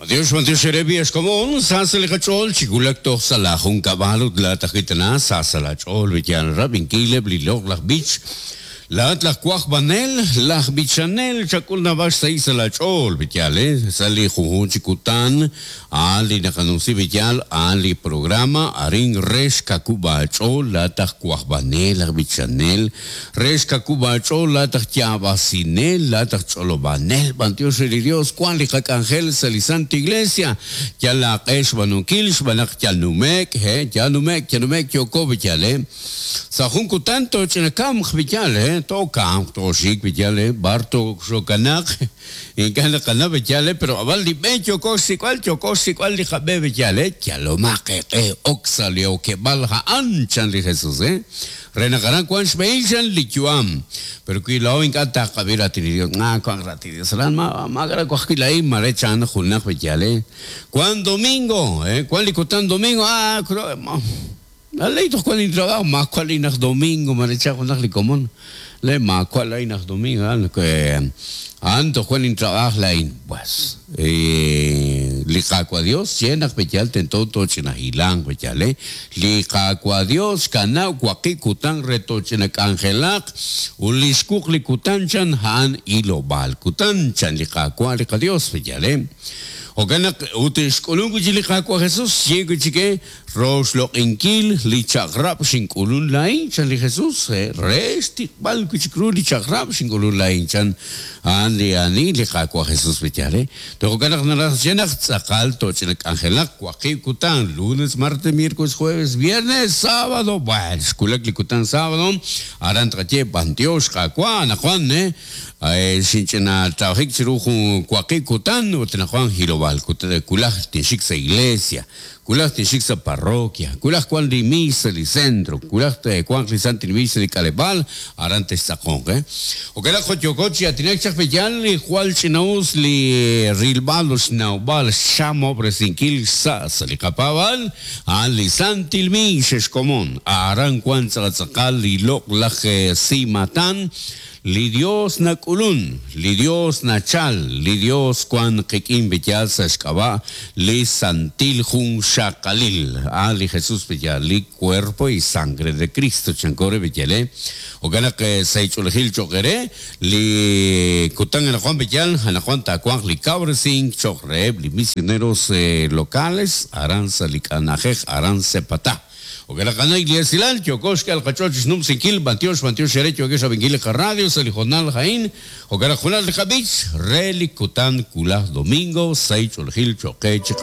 B'antiox, b'antiox eere b'i' ex komon, sa sa' li qach'ool chi wulak toj sa' laa junkab'al ut laa'at ajwi' tana sa sa' laa ch'ool wi yal rab'inkil eb' li loq'laj b'ich. Laa'at laj wajb'anel, laj b'ichanel, chak'ul naab'al xsahil sa' laa ch'ool, wi yaal, sa' li junjunq chi kutan, a'an li naqanumsi wi yaal, a'an li programa arin re xkawub' aach'ool laa'at aj wajb'anel, aj b'ichanel, Re xkawub' aach'ool laa'at aj yaab'asinel, laa'at aj ch'olob'anel, b'antiox re li Dios wan li qak'anjel sa' li Santa Iglesia, yal aaq'e xb'aanunkil xb'aan naq yal nume'k, he, yal nume'k, yal nume'k yooko b'iyal, he. Sa' jun kutan tooch'inakamq b'iyal, he, tookamq, tooxik b'iyal, he, b'ar tooxokanaq, ink'a' naqanaw b'iyal, he, pero ab'an li b'e yooko xsik'b'al, yooko xsik'b'al li qab'e b'iyal, he, yalomaq eeq'e ok sa' li okeb'aal a'an, chan li Jesus, he. Re naq aran wank xb'ehil chan li yu'am. Pero wi laa'o ink'a' taqab'i raatin li Dios, ah, wank raatin li Dios aran, ma, maak'a' waj wi' laa'in, mare chan junaq b'eyal, eh. Wank domingo, eh, wank li kutan domingo, ah, aley toj wank intrabajo, maawa' laa'in aj domingo, mare chan junaq li komon, le maawa' laa'in aj domingo, a'an toj wank intrabaaj laa'in. Pues, li Qaawa' Dios xye naq b'eyal tento tooch'ina hilanq b'eyal, eh. Li Qaawa' Dios xkanab' waqib' kutan re tooch'ina k'anjelaq, ut li xwuq li kutan chan a'an hilob'aal kutan, chan li Qaawa' li qaDios, b'eyal, eh. Jo'kan naq, ut xk'ulunk wi' chik li Qaawa' Jesus, xye wi' chik, eh, Roxloq'inkil li chaq'rab' xink'ulun laa'in, chan li Jesus, re xtiqb'al wi' chik ru li chaq'rab' xink'ulun laa'in, chan a'an li ani li Qaawa' Jesus B'eyal. Toj jo'kan naq naraj xye naq tz'aqal tooch'ina k'anjelaq waqib' kutan, lunes, martes, miércoles, jueves, viernes, sábado, bueno, xwulak li kutan sábado, aran tqaye b'antiox Qaawa' anaqwan, xinch'ina tawajik chiru jun waqib' kutan ut anaqwan hilob'aal kutan, wulaj tinxik sa' iglesia. Wulaj tinxik sa' parroquia, wulaj wank li miis sa' li centro, wulaj wanq li santil miis sa' li k'aleb'aal, aran textz'aqonq, eh. Jo'kan naq jo' yooko chi aatinak chaq b'eyal li jwal ch'ina'us li rilb'al ut xnawb'al xchamob'resinkil xsa' sa' li qapaab'aal, a'an li santil miis xkomon, aran wank tz'aqal li loq'laj siimatan, Li Dios nak'ulun, li Dios nachal, li Dios wan qik'in b'eyal sa' xk'ab'a' li santil junxaqalil, a' li Jesus b'eyal, li cuerpo y sangre de Cristo, chanko re b'eyal, eh. Jo'kan naq sa' ch'oolejil cho'q eere, li kutan anaqwan b'eyal, anaqwan taawanq li kawresink cho'q reheb' li misioneros locales aran sa' li k'anajej aran Sepatá. Jo'kan naq a'an li esilal, yooko xk'e al qach'ool chi xnumsinkil, b'antiox, b'antiox eere yookex rab'inkil li qaradio sa' li hoonal a'in, jo'kan naq junaq li qab'ich re li kutan wulaj domingo, sahil ch'oolejil cho'q qe chiqajunilo.